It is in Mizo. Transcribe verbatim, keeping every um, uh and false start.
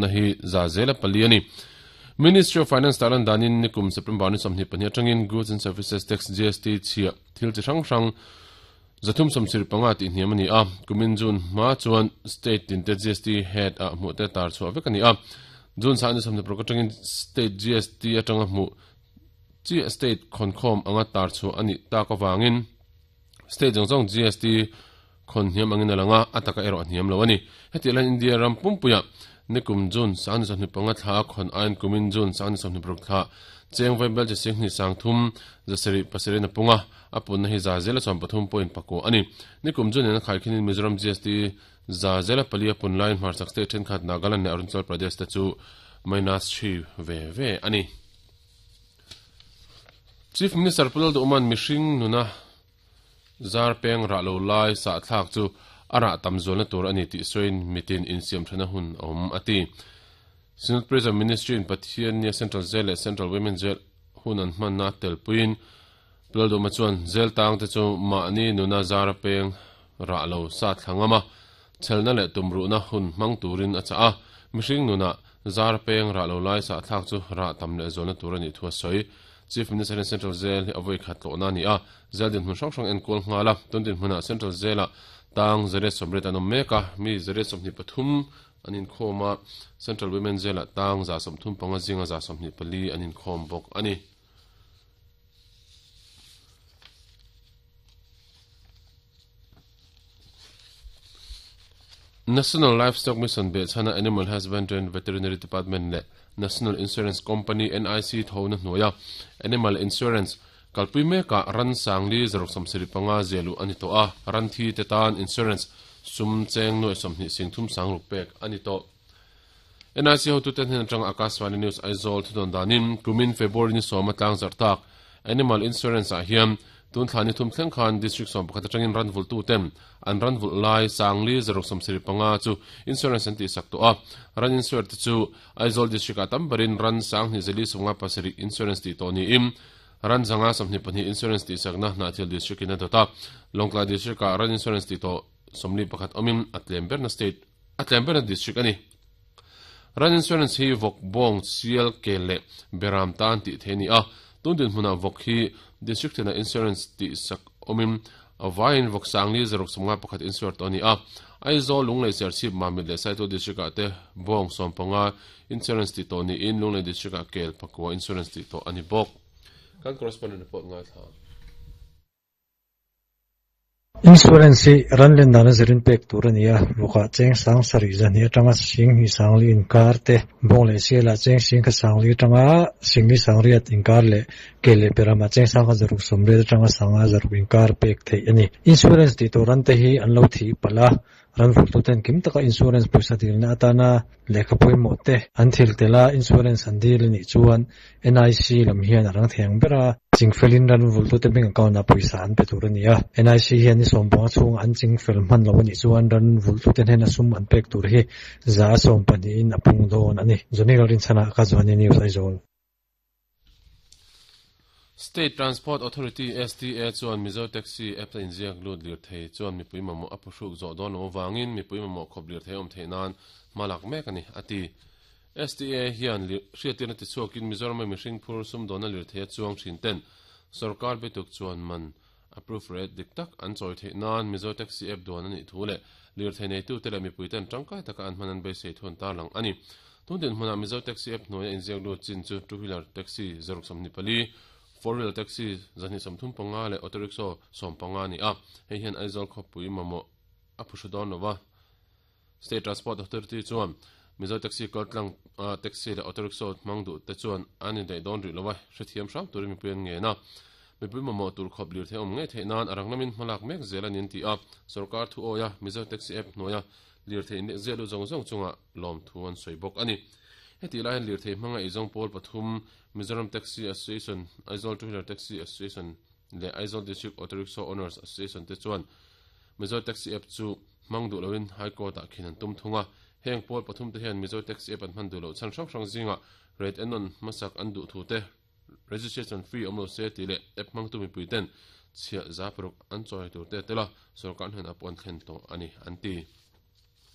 Na hi za zela pali ani. Ministry of Finance talan danin nikum September ni somni pahnih atangin Goods and Services Tax G S T chhia thil chi hrang hrang zathum sawmsir panga tih hniam ani a. Kumin June hma chuan state tin te G S T head a hmuh te tar chhuah vek ani a. June sa ni somni paruk atangin state G S T atanga hmuh chi state khonkhawm anga tar chhuah ani tak awangin state zawng zawng G S T khon hniam angin alanga ataka erawh hniam lo ani. Heti lan India ram pumpuia nikum June sa ni somni panga thla khon ain kumin June sa ni somni paruk thla cheng vai bel che sing ni sang thum zasari pasari na punga apun na hi za zela som pathum point pako ani. Nikum June na khai khinin Mizoram G S T za zela palia pun line mar sak state then khat Nagaland le Arunachal Pradesh ta chu minus three ve ve ani. Chief Minister Pulal Duman mishing nuna zar peng ra lo lai sa thlak chu ara tamzol na tur ani ti soin mitin in siam thana hun om ati. Synod Prison Ministry in Pathian nia Central Jail le Central Women Jail hunan hman na telpuin Pulal Duma chuan jail tang te chu ma ni nuna zar peng ra lo sa thlangama chelna le tumru na hun mang turin acha a. Mihring nuna zar peng ra lo lai sa thlak chu ra tam le zol na tur ani thua soi. Chief Minister in Central Jail hi avoi khat lo na ni a. Jail din hmun hrang hrang en kol ngala tun din hmuna Central Jail a tang zare somret anom meka mi zare somni pathum anin khoma Central Women Jail a tang za somthum panga zinga za somni pali anin khom bok ani. National Livestock Mission be chana Animal Husbandry and Veterinary Department le National Insurance Company N I C thona hnuaia Animal Insurance kalpui meka ran sangli zaruk samsiri panga zelu ani to a. Ran thi te tan insurance sum cheng noi somhni singthum sangruk pek ani to. N I C ho tu ten hen atang Akashvani News Aizawl thudon danin kumin February ni sawma tlang zartak Animal Insurance a hiam tun thlani thum thleng khan district som pakhat atangin ran vul tu ten an ran vul lai sangli zaruk samsiri panga chu insurance an ti sak to a. Ran insurance chu Aizawl district a tambarin ran sang ni zeli sunga pasari insurance ti to ni im ran zanga somni pahnih insurance ti sakna na thil district in dota Longla district a ran insurance ti to somli pakhat omim atlem berna state atlem berna district ani. Ran insurance hi vok bong sial ke le beram tan ti theni a. Tun din hmuna vok hi district na insurance ti sak omim avain vok sangli zaruk somnga pakhat insure to ni a. Aizawl Lunglei Serchhip Mamit le Saito district a te bong som panga insurance ti to ni in Lunglei district a kel pakwa insurance ti to ani bok. Kan correspondent report ngai tha. Insurance hi ran len dana zirin pek tur ania voka cheng sang sari zani atanga sing hi sangli inkar te bong le sela cheng sing kha sangli atanga sing ni sangriat inkar le kele perama cheng sang kha zaruk somre atanga sanga zaruk inkar pek thei ani. Insurance ti to ran te hi an lo thi pala ran vul tu ten kim taka insurance poisa dilna atana lekha pawimawh te an thil tela insurance an dil ni chuan N I C lam hian arang theng bera chingfelin ran vul tu te bank account a poisa an pe tur ania. N I C hian ni sawmpanga chhung an chingfel hman lo ani chuan ran vul tu ten hen a sum an pek tur hi za sawm pahnih in a pung dawn ani. Johnny Lorin chana ka Johnny News Aizawl. State Transport Authority S T A chuan Mizo Taxi app in ziak lut lir thei chuan mipui mamawh a phuhruk zawh dawn lo awangin mipui mamawh khawp lir thei awm theih nan hmalak mek ani ati. S T A hian hriattirna ti chhuakin Mizoram mihring phur sum dawna lir thei a chuang thin ten sarkar bituk chuan man approve rate dik tak an chawi theih nan Mizo Taxi app duan ani thu le lir thei nei tu te le mipui ten tangkai taka an hman an beisei thun tar lang ani. Tun din hmuna Mizo Taxi app hnuaia inziak lut chin chu two wheeler taxi zaruk sawmhnih pali four wheeler taxi zani samthum panga le auto rickshaw som panga ni a. Hei hian Aizawl khawpui mamawh a phuhru dawn lova. State Transport Authority chuan Mizo Taxi kaltlang taxi le auto rickshaw hmang duh te chuan an indaih dawn rih lova hrethiam hram turin mipui an nge na. Mipui mamawh tur khawp lir thei awm ngei theih nan a rang lamin hmalak mek zel anin ti a. Sarkar thu awia Mizo Taxi app hnuaia lir thei zel lu zawng zawng chunga lawm thu an sawi bawk ani. Heti lai lir thei hmanga eizawng pawl pathum Mizoram Taxi Association, Aizawl Two Wheeler Taxi Association le Aizawl District Auto Rickshaw Owners Association te chuan Mizo Taxi app chu hmang duh loin High Court ah khin an tum thunga. Heng pawl pathum te hian Mizo Taxi app an hman duh lo chan hrang hrang zinga rate enon hmasak an duh thu te registration fee awm lo se ti le app hmang tu mipui ten chhia za paruk an chawi tur te tela sarkar hnen a pawn thlen tawh ani an ti.